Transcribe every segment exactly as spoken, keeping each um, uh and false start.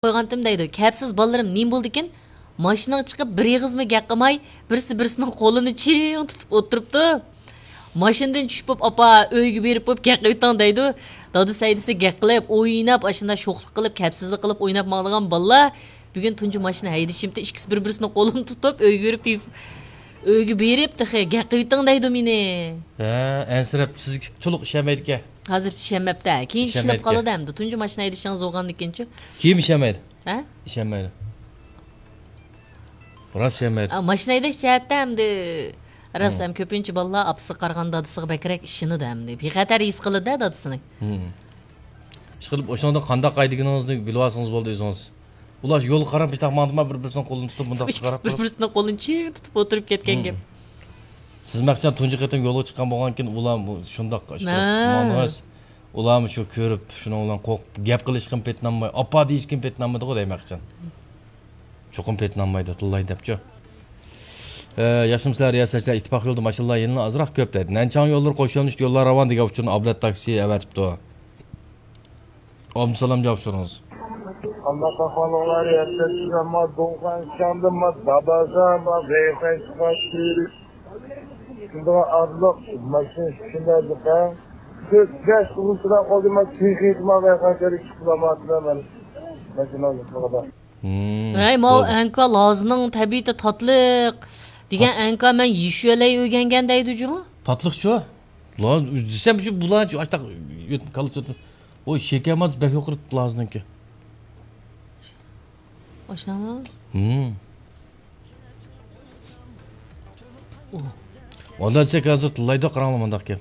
قويغانتىم دەيدۇ. كەپسىز بالىلىرىم نېمە بولدىكىن؟ ماشىنىغا چىقىپ بىر ئېغىزمۇ گەپ قىلماي، بىرسى بىرسىنىڭ قولىنى چىڭ تۇتۇپ ئولتۇرۇپتۇ. ماشىنىدىن چۈشۈپ بوپ، ئاپا، ئۆيگە بېرىپ بوپ گەپ قىلىۋېتىڭ دەيدۇ. دادىسى ھەيدىسە گەپ قىلىپ، ئويناپ، ئاشۇنداق شوخلۇق قىلىپ، كەپسىزلىك قىلىپ ئويناپ ماڭىدىغان بالىلار بۈگۈن تۇنجى ماشىنا ھەيدىشىمتى، ئىككىسى بىر بىرسىنىڭ قولىنى تۇتۇپ، ئۆيگە بېرىپ، ئۆيگە بېرىپ تېخى گەپ قىلىۋېتىڭ دەيدۇ مېنى. ھە، ئەنسىرەپ، سىزگە تولۇق ئىشەنمەيدىكەن. ھازىرچە ئىشەنمەپتۇ. كېيىن ئىشىنىپ ئىشەنمەيدىكەن. قالىدۇ ئەمدى. تۇنجى ماشىنا ھەيدىشىڭىز بولغاندىكىنچۇ؟ كېيىن ئىشەنمەيدۇ. ھە؟ ئىشەنمەيدۇ. راست ئىشەنمەيدۇ. ئا، ماشىنا ھەيدەش جەھەتتە ئەمدى راست ھەم كۆپىنچە بالىلار ئاپىسىغا قارىغاندا دادىسىغا بەكرەك ئىشىنىدۇ ئەمدى. بىخەتەر ھېس قىلىدۇ دادىسىنى. ھىم. ئىشقىلىپ، ئوشۇڭدا قانداق ھەيدىگىنىڭىزنى بىلىۋالسىڭىز بولدى ئۆزىڭىز. ئۇلار يولغا قاراپ شۇنداق ماڭدىما، بىر-بىرسىنىڭ قولىنى تۇتۇپ، مۇنداق ئىككىسى قاراپ بىر-بىرسىنىڭ قولىنى چىڭ تۇتۇپ ئولتۇرۇپ كەتكەن گەپ. سىز مەخچان تۇنجى قېتىم يولغا چىققان بولغانكىن، ئۇلار شۇنداق ئىشتە ماڭىسىز. ئۇلارمۇ شۇ كۆرۈپ، شۇنىڭ بىلەن قورقۇپ، گەپ قىلىشقىمۇ پېتىنالماي، ئاپا دېيىشكىمۇ پېتىنالمايدىغۇ دەي مەخچان. چوقۇم پېتىنالمايدۇ، تىللاي دەپچۇ. ئە، ياخشىمۇسىلەر رىياسەتچىلەر؟ ئىتتىپاق يولىدا ماشىنىلار يەنىلا ئازراق كۆپ دەيدۇ. نەنچاڭ يوللىرى قوش يۆنىلىشتە يوللار راۋان دېگەن ئۇچۇرنى ئابلەت تاكسى ئەۋەتىپتۇ. ئابدۇسالام جاۋاب سورىڭىز. ئاللا تاخالىغلار يەتكەنسىز، ئەمما دۇڭخەن شاڭدىن ما دابازا ما ۋەيخەن چىقار كېرەك. شۇنداق ئارىلىق ماشىنا شۇنداق دۇكان. تۆت بەش ئۇزۇن تۇرا قالدى، ما تېخى ما ۋەيخەن كېرەك چىقىپ بولماپتىمەن ماشىنا يوقلۇقىدا. ھەي، ماۋۇ ئەنكا لازنىڭ تەبىئىتى تاتلىق دېگەن ئەنكا مەن يېشۈەلەي ئۆگەنگەن دەيدۇ جۇمۇ. تاتلىق شۇ. لاز دېسەم شۇ بۇلار شۇ ئاشتاق كالا. ئۇ شېكەر ماددىسى بەك يۇقىرى لازنىڭكى. ئاشۇنداقمۇ؟ ھىم. ئۇ. ئۇنداق دېسەك ھازىر تىللايدۇ، قاراڭلار مۇنداق گەپ.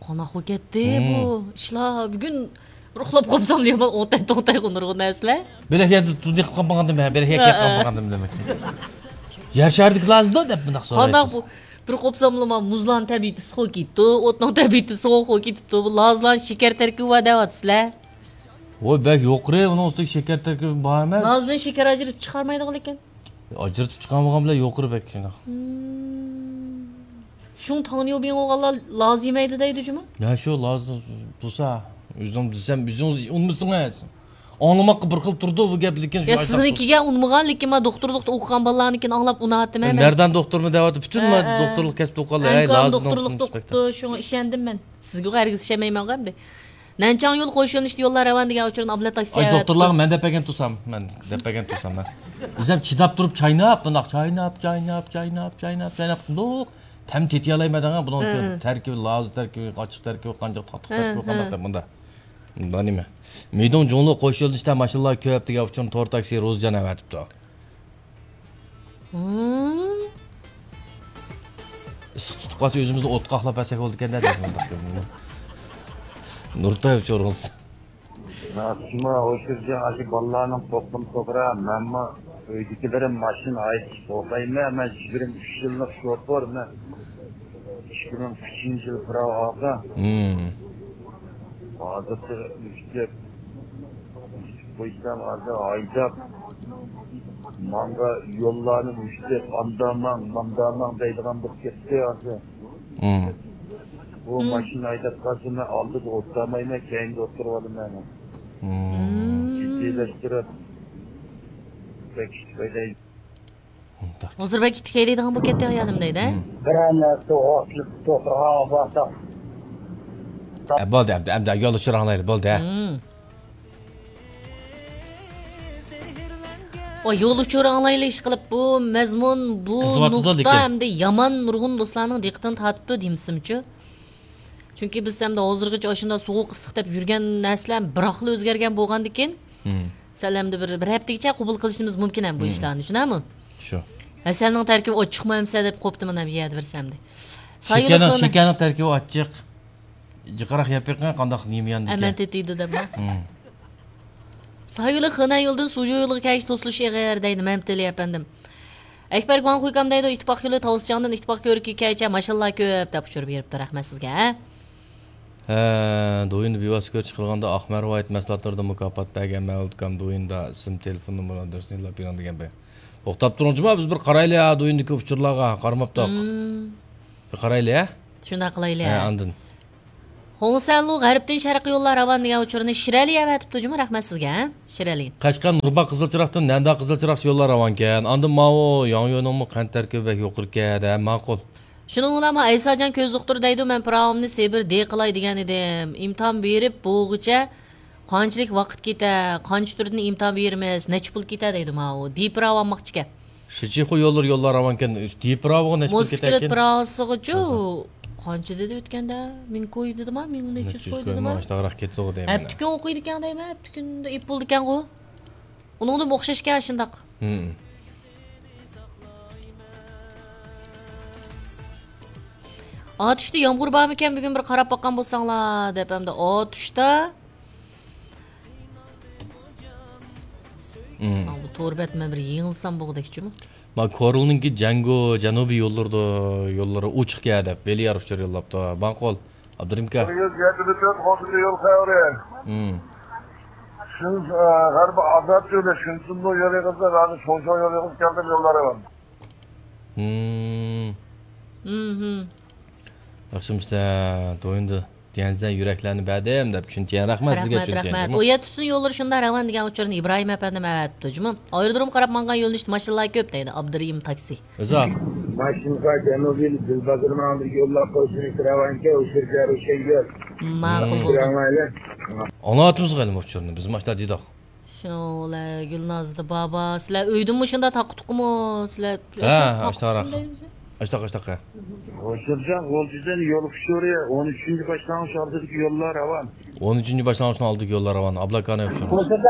قانداق بولۇپ كەتتى بۇ ئىشلار؟ بۈگۈن بىر ئۇخلاپ قوپسام يامان ئوڭتاي توڭتاي قوندۇرغان نەرسىلەر. بىلەك يەردە تۇزنى قىلىپ قالمىغاندىم، بىلەك يەپ قالمىغاندىم دېمەك. يەر شارىدىكى لازدۇ دەپ مۇنداق سورايسىز. قانداق بۇ؟ بىر قوپساملا مۇزلارنىڭ تەبىئىتى سۇغا كېتىپتۇ، ئوتنىڭ تەبىئىتى سۇغا كېتىپتۇ. بۇ لازلارنىڭ شېكەر تەركىبى بار دەۋاتىسىلەر. ۋوي، بەك يۇقىرى، ئۇنىڭ ئۈستىگە شېكەر تەركىبى بار ئەمەس. لازنى شېكەر ئاجرىتىپ چىقارمايدىغان لېكىن. ئاجرىتىپ چىقارمىغان بىلەن يۇقىرى بەك شۇنداق. شۇڭ تاڭنيۇبىڭ بولغانلار لاز يېمەيدۇ دەيدۇ جۇمۇ. يا شۇ لاز تۇرسا، ئۆزۈڭ دېسەم، ئۆزىڭىز ئۇنىمىسىڭىز. ئاڭلىماققا بىر خىل تۇرىدۇ بۇ گەپ، لېكىن يا سىزنىڭكىگە ئۇنىمىغان، لېكىن مەن دوختۇرلۇقتا ئوقۇغان بالىلارنىڭكىنى ئاڭلاپ ئۇناۋاتىمەن مەن. مەردان دوختۇرمۇ دەۋاتىدۇ، پۈتۈن دوختۇرلۇق كەسپىدە ئوقۇغانلار، ھەي، لازىم دوختۇرلۇقتا ئوقۇپتۇ، شۇڭا ئىشەندىم مەن. سىزگىغۇ ھەرگىز ئىشەنمەيمەنغۇ ئەمدى. نەنچاڭ يول قوش يۆنىلىشتە يوللار راۋان دېگەن ئۇچۇرنى ئابلەت تاكسى ئاي، دوختۇرلارغا مەن دەپ بەرگەن تۇرسام، مەن دەپ بەرگەن تۇرسام مەن. ئۆزۈم چىداپ تۇرۇپ چايناپ، بۇنداق چايناپ، چايناپ، چايناپ، چايناپ، چايناپ، بۇنداق تەم تېتىيالايمەن دەڭە، بۇنىڭ تەركىبى، لازا تەركىبى، ئاچچىق تەركىبى، قانچە تاتلىق تەركىبى، قانداق دەپ بۇنداق. بۇنداق نېمە؟ مىدۇڭ جۇڭلۇ قوش يۆنىلىشتە ماشىنىلار كۆپ دېگەن ئۇچۇرنى تور تاكسى روزىجان ئەۋەتىپتۇ. ئىسسىق تۇتۇپ قالسا ئۆزىمىزنى ئوتقا ئاقلاپ بەرسەك بولىدىكەن-دە دەيدۇ. نۇرتاي ئۇچۇرىڭىز. شۇڭا ئوشۇرجان ئاشۇ بالىلارنىڭ توقۇم توغرا، مەنمۇ ئۆيدىكىلىرىم ماشىنا ھەيدەش بولمايمەن، مەن يىگىرمە ئۈچ يىللىق شوپۇر، مەن ئىككى مىڭ ئۈچىنچى يىل پىراۋا ئالغان. ھازىرچە ئۈچتەك قويسام ھازىر ھايداپ، ماڭا يوللارنى ئۈچتەك ئاندا ماڭ، ماندا ماڭ دەيدىغان بولۇپ كەتتى ھازىر. بۇ ماشىنا ھەيدەپ قالسا مەن ئالدىدا ئولتۇرالمايمەن، كەينىدە ئولتۇرۇۋالىمەن. جىددىيلەشتۈرۈپ بەك ئىش بەك ھازىر بەك ئىتتىك ھەيدەيدىغان بولۇپ كەتتى ئايالىم دەيدۇ. بىرەر نەرسە ئوتلۇق توختىغان بولسا. ئە، بولدى، ئەمدى، ئەمدى يول ئۇچۇر ئاڭلايلى، بولدى. ۋاي، يول ئۇچۇر ئاڭلايلى ئىشقىلىپ، بۇ مەزمۇن، بۇ نۇقتا ئەمدى يامان نۇرغۇن دوستلارنىڭ دىققىتىنى تارتىپتۇ دېمىسىمچۇ. چۈنكى بىز ئەمدى ھازىرغىچە ئاشۇنداق سوغۇق ئىسسىق دەپ يۈرگەن نەرسىلەر بىراقلا ئۆزگەرگەن بولغاندىكىن، سەل ئەمدى بىر، بىر ھەپتىگىچە قوبۇل قىلىشىمىز مۇمكىن ھەم بۇ ئىشلارنى، شۇنداقمۇ؟ شۇ. ھەسەلنىڭ تەركىبى ئاچچىقمۇ ئەمسە دەپ قوپتىمەن ھەم يەردە بىرسى ئەمدى. شېكەرنىڭ، شېكەرنىڭ تەركىبى ئاچچىق. جىقراق يەپ بېقىڭ، قانداق نېمە ياندىكەن. ئەمەن تېتىيدۇ دەپمۇ؟ سايولى خېنەن يولىدىن سۇجۇ يولىغا كەلگۈچە توسۇلۇش ئېغىر دەيدۇ مەمتىلى ئەپەندىم. ئەكبەر گۇاڭخۇيكام دەيدۇ، ئىتتىپاق يولى تاۋۇسجاڭدىن ئىتتىپاق كۆۋرۈكىگە كەلگۈچە ماشىنىلار كۆپ دەپ ئۇچۇر بېرىپتۇ، رەھمەت سىزگە. ھە، دويىندا بىۋاسىتە كۆرۈش قىلغاندا ئاق مەرۋايىت مەھسۇلاتلىرىدىن مۇكاپات بەرگەن مەۋلۇت ئاكام دويىندا ئىسىم، تېلېفون نومۇرىنى، ئادرېسىنى يوللاپ بېرىڭ دېگەن بىر. توختاپ تۇرۇڭ جۇما، بىز بىر قارايلى ھە، دويىندىكى ئۇچۇرلارغا قارىماپتۇق. بىر قارايلى ھە؟ شۇنداق قىلايلى ھە، ھە. ئاندىن. خۇڭسەنلۇ غەربتىن شەرققە يوللار راۋان دېگەن ئۇچۇرنى شىرئەلى ئەۋەتىپتۇ جۇمۇ، رەھمەت سىزگە، شىرئەلى. قەشقەر نۇرباغ قىزىل چىراغدىن نەنداغ قىزىل چىراغ يوللار راۋانكەن. ئاندىن ماۋۇ ياڭيۇنىڭمۇ قەنت تەركىبى بەك يۇقىرىكەن، ھە، ماقۇل. شۇنىڭ بىلەن مانا ئەيساجان كۆز دوختۇر دەيدۇ، مەن پىراۋامنى سېبىر دې قىلاي دېگەن ئىدىم. ئىمتىھان بېرىپ بولغۇچە قانچىلىك ۋاقىت كېتە، قانچە تۈردىن ئىمتىھان بېرىمىز، نەچچە پۇل كېتە دەيدۇ ماۋۇ. دې پىراۋا ئالماقچىكەن. شىچىخۇ يوللىرى يوللار راۋانكەن، دې پىراۋىغا نەچچە پۇل موتوسىكلېت كېتەركىن؟ پىراۋىسىغىچۇ قانچە دېدى ئۆتكەندە؟ مىڭ كوي دېدىما؟ مىڭ نەچچە يۈز كوي دېدىما؟ ئاشتاغراق كېتىدىغۇ دەيمەن. ھەپتە كۈن ئوقۇيدىكەن دەيمەن، ھەپتە كۈندە ئېپ بولىدىكەنغۇ. ئۇنىڭدىمۇ ئوخشاشكەن شۇنداق. ھىم. ئاتۇشتا يامغۇر بارمىكەن بۈگۈن بىر قاراپ باققان بولساڭلار دەپ ئەمدى ئاتۇشتا. ھىم. ئا، بۇ تور بەت مەن بىر يېڭىلسام بولغۇدەكچۇمۇ؟ ما كورلنىڭكى جەنگو جەنۇبىي يوللىرىدا يوللىرى ئوچۇق يا دەپ ۋېلىيار ئۇچۇر يوللاپتۇ. ماقۇل. ئابدۇرېھىمكا. بىر يۈز يەتتە تۆت ئوتتۇز يول خەۋىرى. ھىم. شۇن، ئە، غەربىي ئازاد يولى، شۇنسۇندۇ يولى قىزى، ھازىر شوڭشاڭ يولى قىزى كەلدىم يوللار ئەۋەل. ھىم. ھىم، ھىم. ياخشىمۇسىلەر، تويۇندى. تيەنزەن يۈرەكلەرنى بەردىم دەپ چۈنتيەن. رەھمەت سىزگە، رەھمەت، چۈنتيەن. رەھمەت. ئۇ يەتتە تۈتۈن يوللىرى شۇنداق راۋان دېگەن ئۇچۇرنى ئىبراھىم ئەپەندىم ئەۋەتىپتۇ جۇمۇ. ئايرودروم قاراپ ماڭغان يۆنىلىشتە ماشىنىلار كۆپ دەيدۇ ئابدۇرېھىم تاكسى. ئۆزى. ماشىنىغا جەنۇبىي دىلبازىرنىڭ بىر يوللاپ قويۇشنى سوراۋانكەن، ئۇچۇر جەرۇشەن يول. ماقۇل بولدى. ئاڭلاۋاتىمىز غەلىم ئۇچۇرنى، بىز ماشىنا دېدۇق. شۇنىڭ بىلەن گۈلنازدا بابا، سىلەر ئۆيدىمۇ شۇنداق تاققا تۇققىمۇ؟ سىلەر ھە، ئاشتاراق. ئاشتاق، ئاشتاق، ھە. ھوشۇرجان غۇلجىدىن يول ئۇچۇرى، ئون ئۈچىنچى باشلانغۇچ ئالدىدىكى يوللار راۋان. ئون ئۈچىنچى باشلانغۇچنىڭ ئالدىدىكى يوللار راۋان. ئابلاكانى ئۇچۇرى.